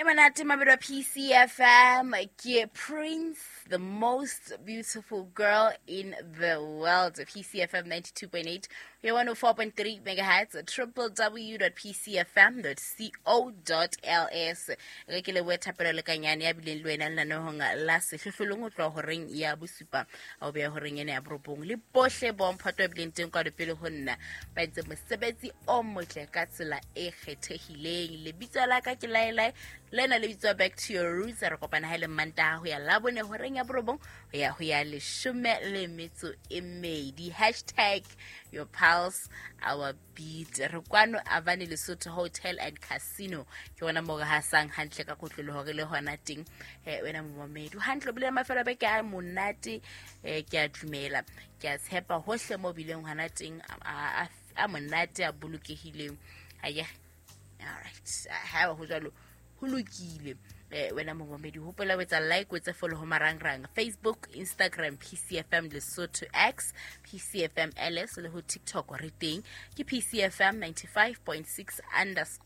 Monate mabelo PCFM ke Prince, the most beautiful girl in the world. PCFM 92.8 ya 104.3 megahertz, www.pcfm.co.ls. Re ke lebohe Thapelo Lekanyane ya bileng le wena lenaneong la Sehlohlolong ho tloha horeng ya bosupa a o beya horeng ena ya borobong, le bohle bomphato ba bileng teng kwano pele ho nna ba entse mosebetsi o motle ka tsela e kgethehileng. Lebitso la ka ke Laelae, lena le bitswa Back to Your Roots. Re kopana ha e le Mantaha ho ya Labone horeng ya borobong ho ya 12. Hashtag your pulse, our beat. Re kwano Avani Lesotho Hotel and Casino, ke gona mo re hasang hantle ka kotloloho re le hona teng. Wena momamedi, o hantle, o bile mafelo a beke a monate. Ke a dumela, ke a tshepa hohle mo bileng hona teng a monate, a bolokehileng. Aye, alright, ha ho jwalo ho lokile. Wena momamedi, hopola o etsa like, o etse follow ho marangrang Facebook, Instagram, PCFM Lesotho, X, PCFM LS, le ho TikTok re teng ke PCFM 95.6_LS.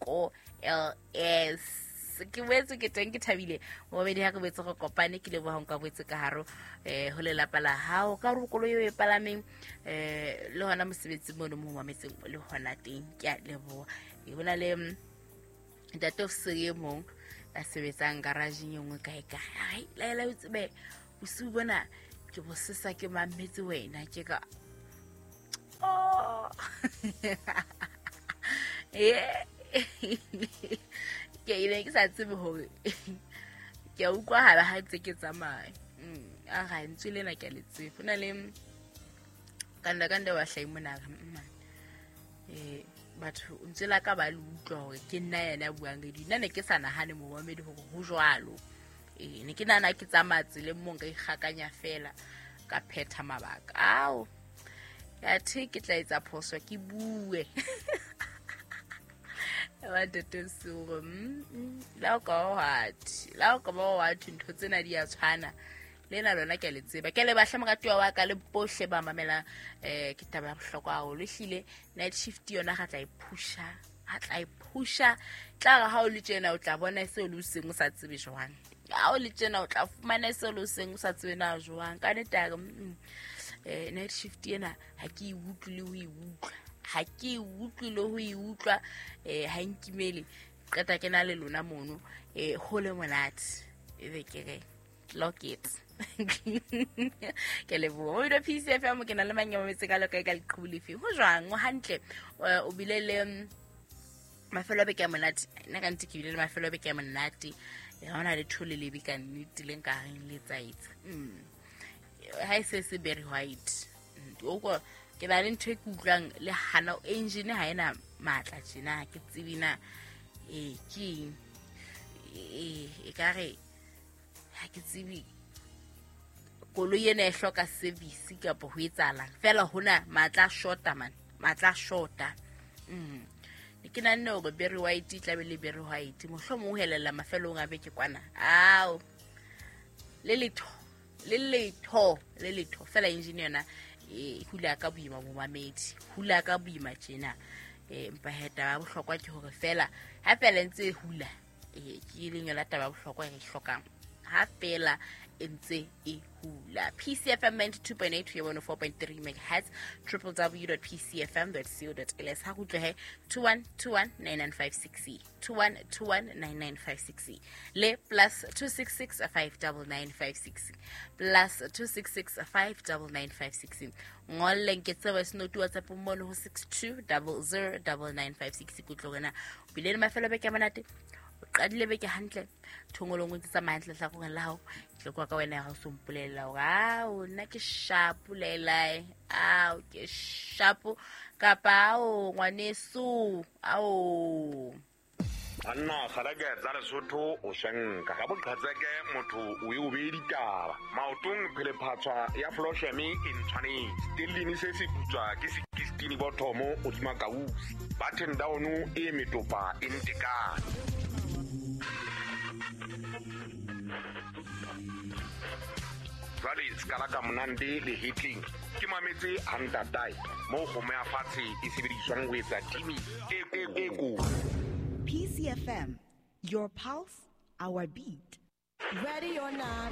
Ke boetse ke teng, ke thabile momamedi ha re boetse re kopane. Ke leboha nka boetse ka haro ho lelapa la hao, ka hore koloi eo e palameng, le hona mosebetsi mono mo mametseng le hona teng. Ke a leboha. Ho na le ntate officer e mong a sebetsang garageng e nngwe kae kae. Ai, Laela, o tsebe bosiu bona ke bosesa ke mametse wena. Ke ka, oh, ke ile ke sa tsebe hore ke a utlwahala ha ntse ke tsamaya. A ga ntswe lena ke a le tsebe. Ho na le kanda kanda wa hlahi mona re, batho ntse la ka ba le utlwa hore ke nna yena ya buang radio. Nna ne ke sa nahane, momamedi, hore ho jwalo. Ne ke nahana ke tsamaya tseleng mo nka ikgakanya fela ka phetha mabaka ao athe ke tla etsa phoso ke bue ba ntate Suro. La o ka wa thwe, la o ka ba wa thwe ntho tsena di a tshwana le na lona. Ke a le tseba, ke a le bahle moratuwa wa ka le bohle ba mamelang. Ke taba ya bohlokwa haholo ehlile. Night shift yona ga tla e phusha, ga tla e phusha. Tla re ha o le tjena o tla bona seo le o seng o sa tsebe jwang. Ha o le tjena o tla fumana seo le o seng o sa tsebe na jwang. Ka nnete a re, night shift ena ha ke e utlwe le ho e utlwa, ha ke e utlwe le ho e utlwa. Ha nkimele qeta ke na le lona mono, ho le monate, ebe ke re lock it. Ke leboha o PCFM. Ke na le mang ya mametse ka loka ka leqhubu lefe? Ho jwang, o hantle? O bile le mafelo a beke a monate? Nna ka nnete ke bile le mafelo a beke a monate. Ha hona letho le lebe ka nnete le nka reng le tsaetse. Ha e se se very white. O ko ke na le ntho e ke utlwang le hana engine ha ena matla tjena, ha ke tsebe na ke eng. E ka re ha ke tsebe koloi ena e hloka service kapa ho etsahalang fela. Hona matla a shota man, matla a shota. Ne ke nahanne hore Berry White e tlabe le Berry White mohlomong ho helella mafelong a beke kwana. Ao, le letho, le letho, le letho fela. Engine yona e hula ka boima, momamedi, hula ka boima tjena. Empa he, taba ya bohlokwa ke hore fela ha fela e ntse e hula, ke leng yona taba ya bohlokwa e re e hlokang, ha fela e ntse e hula. PCFM 92.8 ho 104.3 megahertz, www.pcfm.co.ls. Ha go utlwehe 2121 9956, 2121 9956 le +266 59956, +266 59956. Ngolleng ke tsebo voice note WhatsApp mono ho 62 00 9956. Ke utlwe wena o bile le mafelo a beke a monate, o qadile beke hantle, thongolong o ntse tsamaya hantle hlakoreng la hao. Ke tlo kwa ka wena ya ga o so mpolelela hore ao nna ke shapo lelae, ao ke shapo, kapa ao ngwaneso ao. Banna kgaleke tsa Lesotho, o shenka ka boqhetseke, motho o e o bee ditaba maotong. Phelephatshwa ya flosheme e ntshwanetse stellini se se putswa ke sekistini bothomo hodima kausi button down e metopa e ntekane. Jwale sekala ka monande le hetleng ke mametse hantatae moo kgomo ya fatshe e sebediswang ho etsa timi e kotsi. PCFM, your pulse, our beat. Ready or not,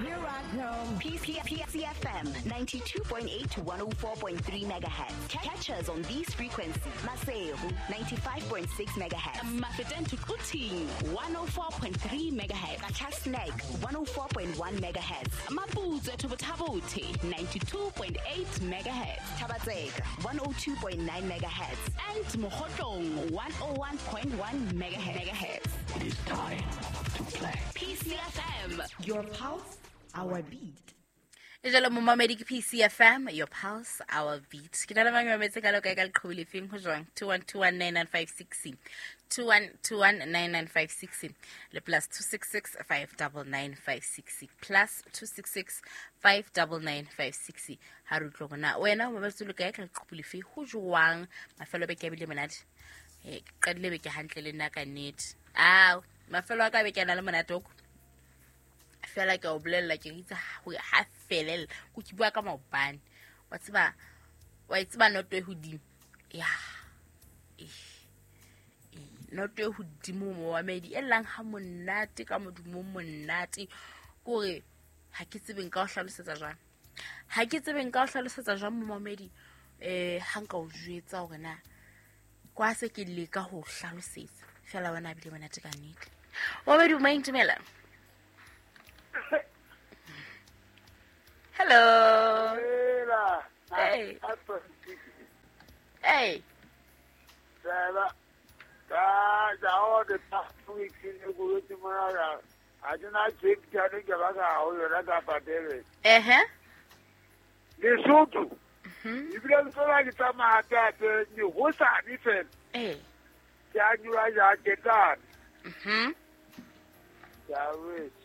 here I come. PCFM 92.8 to 104.3 megahertz. Catch us on these frequencies. Maseru 95.6 megahertz. Mafeteng to Quthing 104.3 megahertz. Qacha's Nek 104.1 megahertz. Maputsoe to Botha-Bothe 92.8 megahertz. Thaba-Tseka 102.9 megahertz. And Mokhotlong 101.1 megahertz. It is time to play. PCFM. Your pulse, our beat. E jalo momamedi ke PCFM, your pulse, our beat. Ke na le mang mametse ka loka ka leqhubu lefeng ho jwang? 21219956. 21219956 le plus 266 59956 plus 266 59956. Ha re utlwe hore na wena o mametse lo kae ka leqhubu lefe ho jwang? Mafelo a beke a bile monate. Ke qadile beke hantle le nna ka nnete. Ao, mafelo a ka beke a na le monate o fela ke o bolella ke itse ha felella ko ke bua ka maobane wa tseba wa tseba noto e hodimo ya noto e hodimo mo wa medi e llang ha monate ka modumo monate kore ha ke tsebe nka o hlalosetsa jwang ha ke tsebe nka o hlalosetsa jwang mo mamedi ha nka o jwetsa hore na kwa se ke leka ho hlalosetsa fela wena bile monate ka nnete wa medi o maintumela. Hello. Hey. Hey. Lesotho. Ebile le tsona ke tsamaya hape ne hosane fela. Eh. Ke a nyua ya ketane. Ya wethu.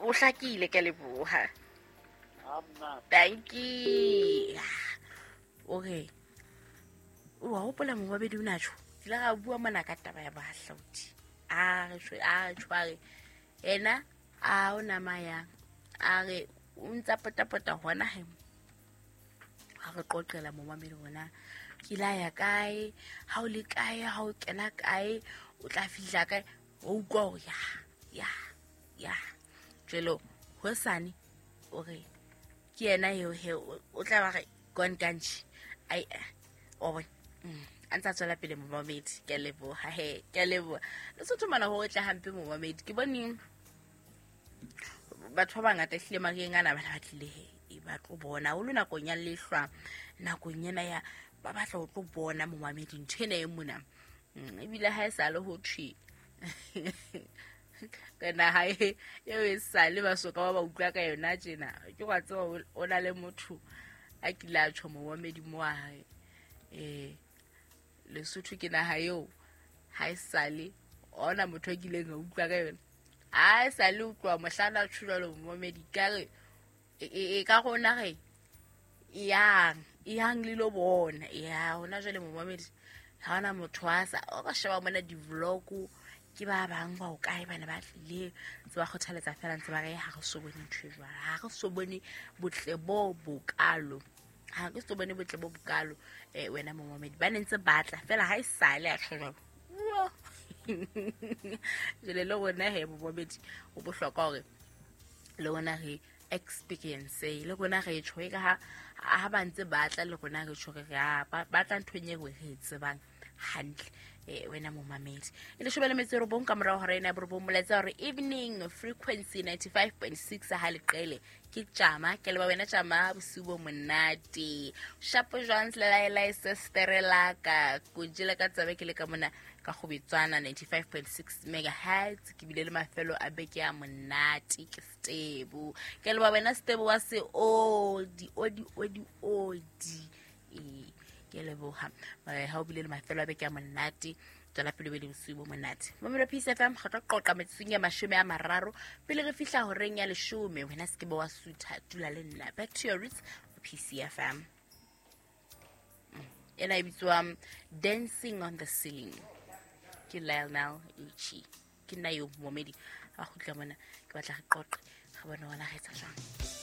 O hlakile ke leboha. Thank you. Okay. O wa hopola mobabedi o na tjho. Ke la ga bua mona ka taba ya bahlaodi. A re tshware. Ena a o nama yang. A re o ntsa potapota hona he. Ha re qoqela momamedi bona. Ke la ya kae? Ha o le kae? Ha o kena kae? O tla fihla kae? O utlwa hore ya. Ya. Jelo hosane o re ke yena eo he o tla ba re gone kanji ai o bona a ntsa tswela pele momamedi ke leboha he ke leboha Lesotho mana ho tla hampe momamedi ke bone batho ba bangata hlile mareng ana bana ba tlile he e ba tlo bona o le nakong ya lehlwa nakong ena ya ba batla ho tlo bona momamedi ntho ena e mona ebile ha e sa le ho thwe ka naha eo e sale ba soka ba ba utlwa ka yona tjena ke wa tseba o na le motho a kile a tjho momamedi mo wa hae Lesotho ke naha eo ha e sale ona motho a kileng a utlwa ka yona ha e sale utlwa mohlana tjho jwalo momamedi ka re e ka rona re yang le lo bona ya hona jwale momamedi ha ona motho a sa o ka sheba mona di-vlog ke ba bang ba o kae bana ba tlile tse ba kgothaletsa fela ntse ba re ha re so bone ntho e jwalo ha re so bone botle bo bokalo ha re so bone botle bo bokalo wena momamedi ba ne ntse batla fela ha e sale a tjho jwalo jwale le rona he momamedi o bohlokwa hore le rona re experience le rona re tjho e ka ha ba ntse batla le rona re tjho re ba batla nthong e re e tsebang hantle wena momamedi e leshome le metso e robong ka morao hora ena ya borobong molaetsa hore evening frequency 95.6 ha leqele ke tjama ke leba wena tjama bosiu bo monate shapo jwang lelaela sestere la ka ko jela ka tsabe ke le ka mona ka Kgobetswana 95.6 megahertz ke bile le mafelo a beke ya monate ke Stebo ke leba wena Stebo wa se odi odi odi odi ke leboha ha o bile le mafelo a beke ya monate tswela pele be le bosiu bo monate momelo Peace FM re tlo qoqa metsotsong ya 30 pele re fihla horeng ya 10 wena se ke bo wa sutha dula le nna back to your roots Peace FM ena e bitswa Dancing on the Ceiling ke Lionel Richie ke nna yo momedi a kgutla mona ke batla re qoqe re bone hona re etsa jwang.